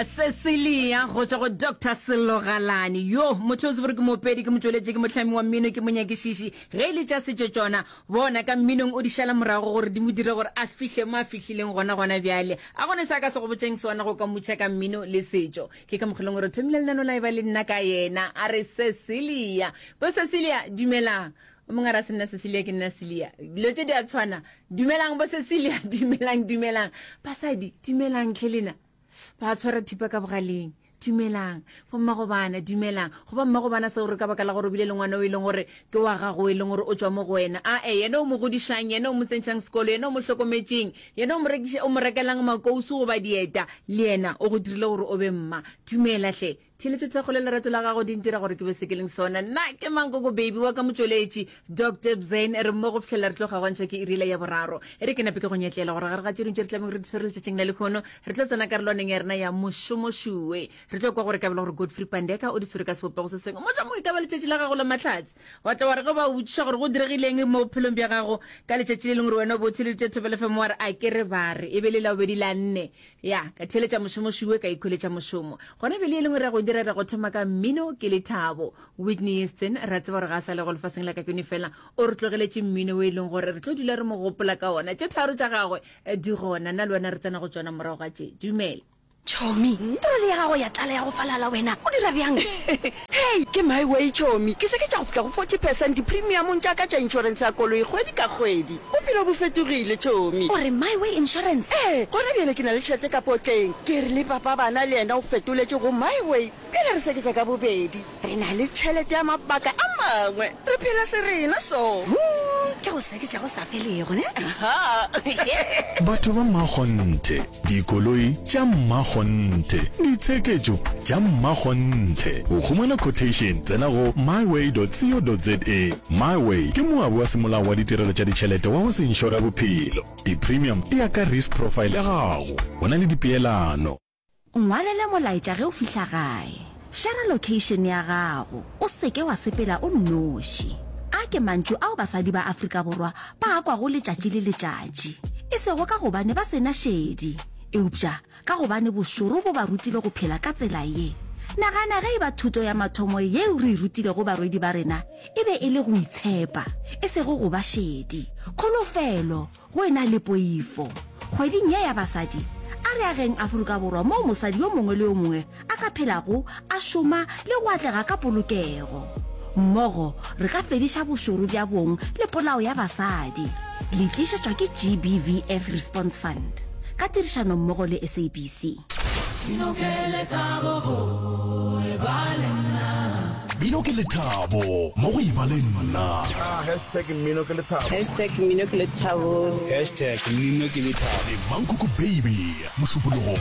Cecilia go tšwa go Doctor Sello Galane. Yo, motho o tsebe gore ke moopedi, ke motšweletši, ke mohlami wa mmino, ke monyakišiši. Ge e le tša setšo tšona, bona ka mminong o di šala morago gore di mo dire gore a fihle mo a fihlileng gona gona bjale. A gone se a ka se go botšeng sona go ka mutšha ka mmino le setšo. Ke ka mokgwa e leng gore thomile lenano la eba le nna ka yena. A re Cecilia. Bo Cecilia, dumelang. O mongwe a re a se nna Cecilia ke nna Celia. Dilo tše di a tshwana. Dumelang bo Cecilia, dumelang, dumelang. Basadi, dumelang tlhe lena. Ba tshwara thipa ka bogaleng. Dumelang. Bo mmago bana, dumelang. Go ba mmago bana seo re ka baka la gore o bile le ngwana o e leng gore ke wa gago o e leng gore o tšwa mo go wena. Ae, yena o mo godišang, yena o mo tsentšhang sekolo, yena o mo hlokometšeng, yena o mo rekiša, o mo rekelang makousu goba dieta, le yena o go dirile gore o be mma. Dumela hle. Theeletšo thekgo le lerato la gago di ntira gore ke be se ke leng sona. Nna ke Mankoko Baby wa ka motšweletši, Doctor Bzane. Re mmogo go fihlela re tlo kgaogantšhwa ke iri yela ya boraro. E re ke nape ke go nyetlela gore gare ga tše dingwe tše re tlabeng re di tshwere letšatšing la lehono, re tlo tsena karolwaneng ya rena ya mošomošuwe. Re tlo kwa gore ka bela gore Godfrey Pandeka o di tshwere ka sebopego se sengwe. Mohlomongwe e ka ba letšatši la gago la mahlatse. Wa tla wa re ge ba o botšiša gore go diregileng mo bophelong bja gago ka letšatši le lengwe gore wena o bo o theeleditše Thobela FM wa re a ke re ba re e be le Labobedi la nne. Ya, ka theeletša mošomo šuwe, ka ikhweletša mošomo. Gona bjale e lengwe re ya go dira, re ya go thoma ka mmino ke lethabo. Whitney Houston, re a tseba gore ga a sa le go lefaseng la ka keno fela o re tlogeletše mmino o e leng gore re tlo dula re mo gopola ka ona. Tše tharo tša gagwe di gona, nna le wena re tsena go tšona morago ga tše. Dumela. Chomi, troli ya gago ya tlala ya go falala wena o dira bjang? Hei, ke my way chomi, ke seketša go fihla go 40 percent dipremiamong tša ka tša inšorense ya koloi kgwedi ka kgwedi. Bophelo bo fetogile, chomi. O re My Way Insurance? Ee, gona bjale ke na le tšhelete ka potleng. Ke re le papa bana le yena o fetoletše go My Way. Bjale re seketša ka bobedi. Re na le tšhelete ya mabaka a mangwe. Re phela se rena so. Huu, ke go seketša go sa felego, ne? Aha. Batho ba mmakgonthe, dikoloi tša mmakgonthe, ditsheketšo tša mmakgonthe. Go humana quotation, tsena go myway.co.za. MyWay ke moabi wa semolao wa ditirelo tša ditšhelete wa go se inšore bophelo. Di-premium di ya ka risk profile ya gago. Go na le dipeelano. Nngwalele molaetša ge o fihla gae. Šera location ya gago. O se ke wa sepela o nnoši. A ke mantšu ao basadi ba Afrika Borwa ba a kwago letšatši le letšatši. E sego ka gobane ba se na šedi, eupša ka gobane bošoro bo ba rutile go phela ka tsela ye. Nagana ge e ba thuto ya mathomo yeo re e rutilego barwedi ba rena e be e le go itshepa, e sego go ba šedi. Kholofelo, go e na le poifo. Kgweding ye ya basadi, a re ageng Afrika Borwa moo mosadi yo mongwe le yo mongwe a ka phelago, a šoma le go atlega ka polokego. Mmogo re ka fediša bošoro bja bong le polao ya basadi. Le tlišetšwa ke GBVF Response Fund ka tirišanommogo le SABC. Mmino ke lethabo go e ba le nna. Mmino ke lethabo mo go e ba le nna. Hashtag mmino ke lethabo. Hashtag mmino ke lethabo. Hashtag mmino ke lethabo. Le Mankoko Baby, Mošupologo.